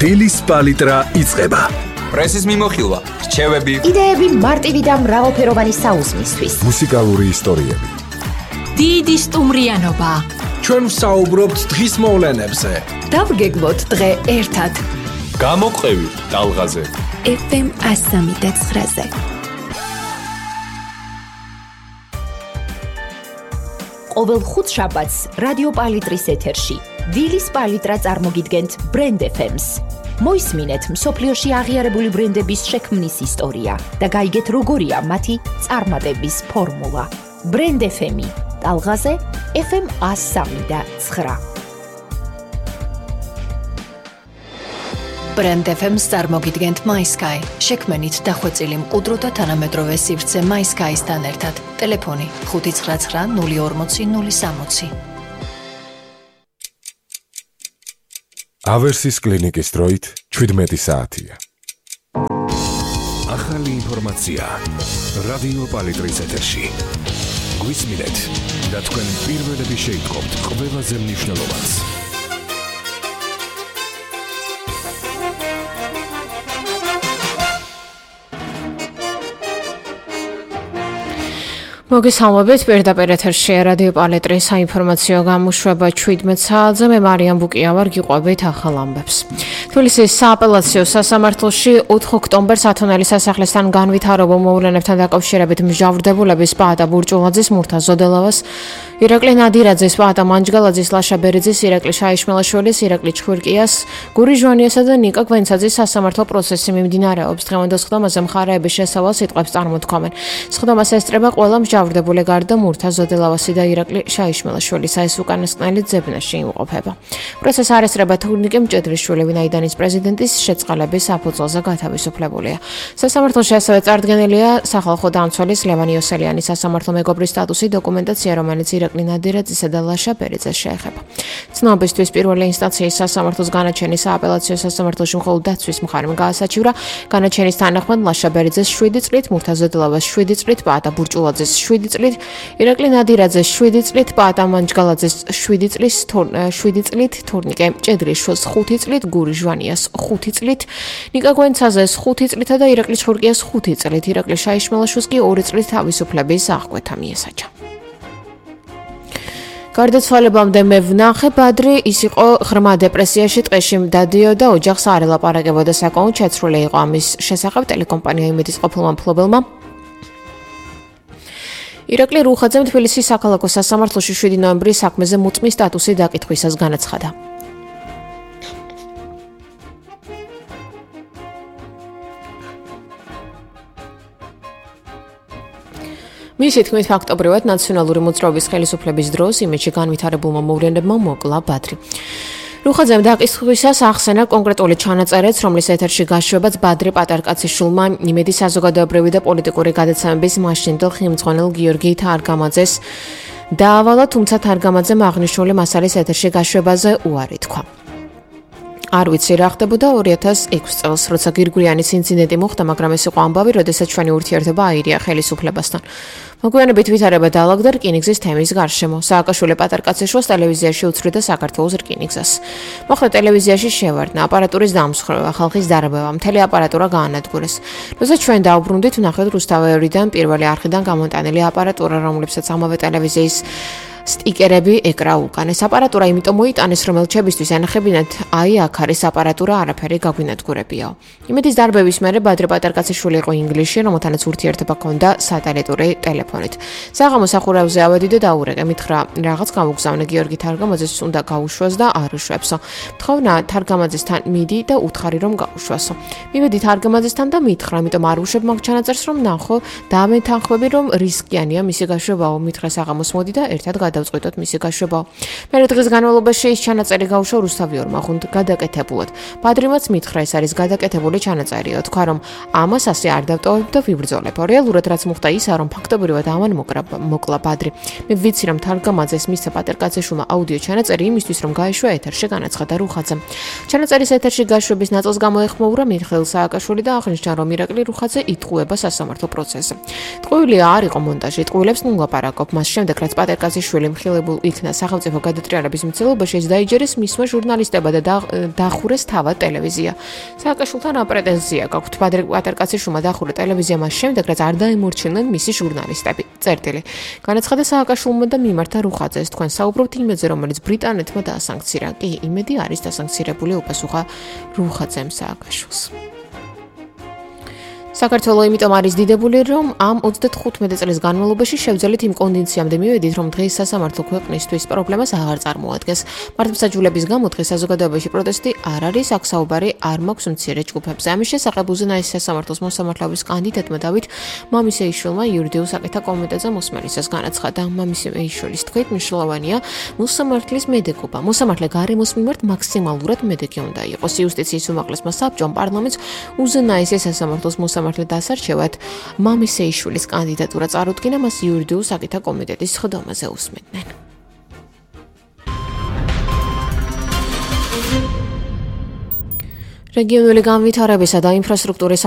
დილის პალიტრა იწყება. პრესის მიმოხილვა, რჩევები, იდეები მარტივი და მრავალფეროვანი საუზმისთვის. მუსიკალური ისტორიები. დიდი სტუმრიანობა. ჩვენ ვსაუბრობთ დღის მოვლენებზე. დავგეგმოთ დღე ერთად. გამოყევი ტალღაზე. FM 103.9-ზე. ყოველ ხუთშაბათს რადიო პალიტრის ეთერში დილის პალიტრა წარმოგიდგენთ Brand FM-ს. მოისმინეთ მსოფლიოში აღიარებული ბრენდების შექმნის ისტორია და გაიგეთ როგორია მათი წარმატების ფორმულა. Brand FM-ი ტალღაზე FM 103.9. Brand FM-ს წარმოგიდგენთ MySky. შექმნით დახვეწილი მყუდრო და თანამედროვე სივრცე MySky-სთან ერთად. ტელეფონი 599 040 060. ავერსის კლინიკის დროით 17 საათია. ახალი ინფორმაცია რადიო პალიტრის ეთერში. გვისმინეთ და თქვენ პირველები შეიტყობთ ყველაზე მნიშვნელოვანს. მოგესალმებით, პირდაპირ ეთერში რადიო პალიტრის საინფორმაციო გამოშვება 17 საათზე. მე მარიამ ბუკია ვარ, გიყვებით ახალ ამბებს. თბილისის სააპელაციო სასამართლოში 4 ოქტომბერს ათონელის სასახლესთან განვითარებულ მოვლენებთან დაკავშირებით მსჯავრდებულების პაატა ბურჭულაძის, მურთა ზოდელავას, ირაკლი ნადირაძის, პაატა მანჯგალაძის, ლაშა ბერიძის, ირაკლი შაიშმელაშვილის, ირაკლი ჩხვირკიას, გური ჟვანიასა და ნიკა გვენცაძის სასამართლო პროცესი მიმდინარეობს. დღევანდელ სხდომაზე მხარეების შესავალ სიტყვებს წარმოთქვამენ. სხდომას ესწრება ყველა მსჯავრდებული გარდა მურთა ზოდელავასი და ირაკლი შაიშმელაშვილისა, ეს უკანასკნელი ძებნაში იმყოფება. პროცესს არ ესწრება თურნიკე მჭედრიშვილი, ვინაიდან პრეზიდენტის შეწყალების საფუძველზე გათავისუფლებულია. სასამართლოში ასევე წარდგენილია სახალხო დამცველის ლევან იოსელიანის სასამართლო მეგობრის სტატუსი, დოკუმენტაცია, რომელიც ირაკლი ნადირაძისა და ლაშა ბერიძეს შეეხება. ცნობისთვის პირველი ინსტანციის სასამართლოს განაჩენის სააპელაციო სასამართლოში მხოლოდ დაცვის მხარემ გაასაჩივრა. განაჩენის თანახმად ლაშა ბერიძეს 7 წლით, მურთა ზოდელავას 7 წლით, პაატა ბურჭულაძეს 7 წლით, ირაკლი ნადირაძეს 7 წლით, პაატა მანჯგალაძეს 7 წლით, თურნიკე მჭედრიშვილს 5 წლით, გური ჟვანიას 5 წლით, ნიკა გვენცაძეს 5 წლითა და ირაკლი ჩხურკიას 5 წლით, ირაკლი შაიშმელაშვილს კი 2 წლით თავისუფლების აღკვეთა მიესაჯა. გარდაცვალებამდე მე ვნახე ბადრი, ის იყო ღრმა დეპრესიაში, ტყეში დადიოდა, ოჯახს არ ელაპარაკებოდა, საკმაოდ შეცვლილი იყო ამის შესახებ ტელეკომპანია იმედის ყოფილმა მფლობელმა. ირაკლი რუხაძემ თბილისის საქალაქო სასამართლოში 7 ნოემბრის საქმეზე მუწმის სტატუსი დაკითხვისას განაცხადა. მისი თქმით, ფაქტობრივად ნაციონალური მოძრაობის ხელისუფლების დროს იმედში განვითარებულმა მოვლენებმა მოკლა ბადრი. რუხაძემ დაკითხვისას ახსენა კონკრეტული ჩანაწერიც, რომლის ეთერში გაშვებაც ბადრი პატარკაციშვილმა იმედის საზოგადოებრივი და პოლიტიკური გადაცემების მაშინდელ ხიმძღვანელ გიორგი თარგამაძეს დაავალა, თუმცა თარგამაძემ აღნიშნული მასალის ეთერში გაშვებაზე უარი თქვა. არ ვიცი რა ხდებოდა 2006 წელს, როცა გირგვლიანის ინციდენტი მოხდა, მაგრამ ეს იყო ამბავი, როდესაც ჩვენი ურთიერთობა აირია ხელისუფლებასთან. მოგვიანებით ვითარება დაალაგდა რკინიგზის თემის გარშემო. სააკაშვილი პატარკაციშვილს ტელევიზიაში უცხრიდა საქართველოს რკინიგზას. მოხდა ტელევიზიაში შევარდნა, აპარატურის დამსხვრევა, ხალხის დარბევა, მთელი აპარატურა გაანადგურეს. როცა ჩვენ დავბრუნდით, ვნახეთ რუსთავეორიდან პირველი არხიდან გამოტანილი აპარატურა, რომლებსაც ამავე ტელევიზიის სტიკერები ეკრა უკან. ეს აპარატურა იმიტომ მოიტანეს, რომ ელჩებისთვის ენახებინათ, აი აქ არის აპარატურა, არაფერი გაგვინადგურებიაო. იმედის დარბევის მერე ბადრი პატარკაციშვილი იყო ინგლისში, რომელთანაც ურთიერთობა ჰქონდა სატელიტური ტელეფონით. საღამოს სახურავზე ავედი და დაურეკე, მითხრა რაღაც გამოგზავნე, გიორგი თარგამაძეს უნდა გაუშვას და არ უშვებსო. თხოვნა თარგამაძესთან მიდი და უთხარი რომ გაუშვასო. მივედი თარგამაძესთან და მითხრა, ამიტომ არ უშვებ მაგ ჩანაწერს, რომ ნახო და მეთანხმები, რომ რისკიანია მისი გაშვებაო. მითხრა საღამოს მოდი და ერთად გადავწყვიტოთ მისი გაშვებაო. მერე დღის განმავლობაში ის ჩანაწერი გაუშვა რუსთავიორმა ხუნდ გადაკეთებულად. ბადრიმაც მითხრა, ეს არის გადაკეთებული ჩანაწერიო. თქვა, რომ ამას ასე არ დავტოვებ და ვიბრძოლებ. რეალურად რაც მოხდა ისაა, რომ ფაქტობრივად ამან მოკლა ბადრი. მე ვიცი, რომ თარგამაძეს მისცა პატარკაციშვილმა აუდიო ჩანაწერი იმისთვის, რომ გაეშვა ეთერში, განაცხადა რუხაძემ. ჩანაწერის ეთერში გაშვების ნაწილს გამოეხმოურა მიხეილ სააკაშვილი და აღნიშნა, რომ ირაკლი რუხაძე იტყუება სასამართლო პროცესზე. ტყუილია არ იყო მონტაჟი, ტყუილებს ნუ ლაპარაკობ. მას შემდეგ რაც პატარკაციშვილი მისული მხილებულ იქნა სახელმწიფო გადატრიალების მცდელობაში, ეს დაიჯერეს მისმა ჟურნალისტებმა და დახურეს თავად ტელევიზია. სააკაშვილთან რა პრეტენზია გაქვთ? პატარკაციშვილმა დახურა ტელევიზია მას შემდეგ, რაც არ დაემორჩილნენ მისი ჟურნალისტები. წერტილი. განაცხადა სააკაშვილმა და მიმართა რუხაძეს. თქვენ საუბრობთ იმედზე, რომელიც ბრიტანეთმა დაასანქცირა. კი, იმედი არის დასანქცირებული, უპასუხა რუხაძემ სააკაშვილს. საქართველოს იმიტომ არის დიდებული, რომ ამ 35 წლის განმავლობაში შევძელით იმ კონდიციამდე მივედით, რომ დღეს სასამართლო ქვეყნისთვის პრობლემას აღარ წარმოადგენს. მართლმსაჯულების გამო დღეს საზოგადოებაში პროტესტი არ არის, აქ საუბარი არ მაქვს მცირე ჯგუფებზე. ამის შესახებ უზენაესი სასამართლოს მოსამართლეობის კანდიდატმა დავით მამისეიშვილმა იურიდიულ საკითხთა კომიტეტზე მოსმენისას განაცხადა. მამისეიშვილის თქმით, მნიშვნელოვანია მოსამართლის მედეგობა. მოსამართლე გარემოს მიმართ მაქსიმალურად მედეგი უნდა იყოს. იუსტიციის უმაღლესმა საბჭომ პარლამენტს უზენაესი სასამართლოს მოსამართლე დასარჩევად მამისეიშვილის კანდიდატურა წარუდგინა, მას იურიდიულ საკითხთა კომიტეტის სხდომაზე უსმენდნენ. რეგიონული განვითარებისა და ინფრასტრუქტურის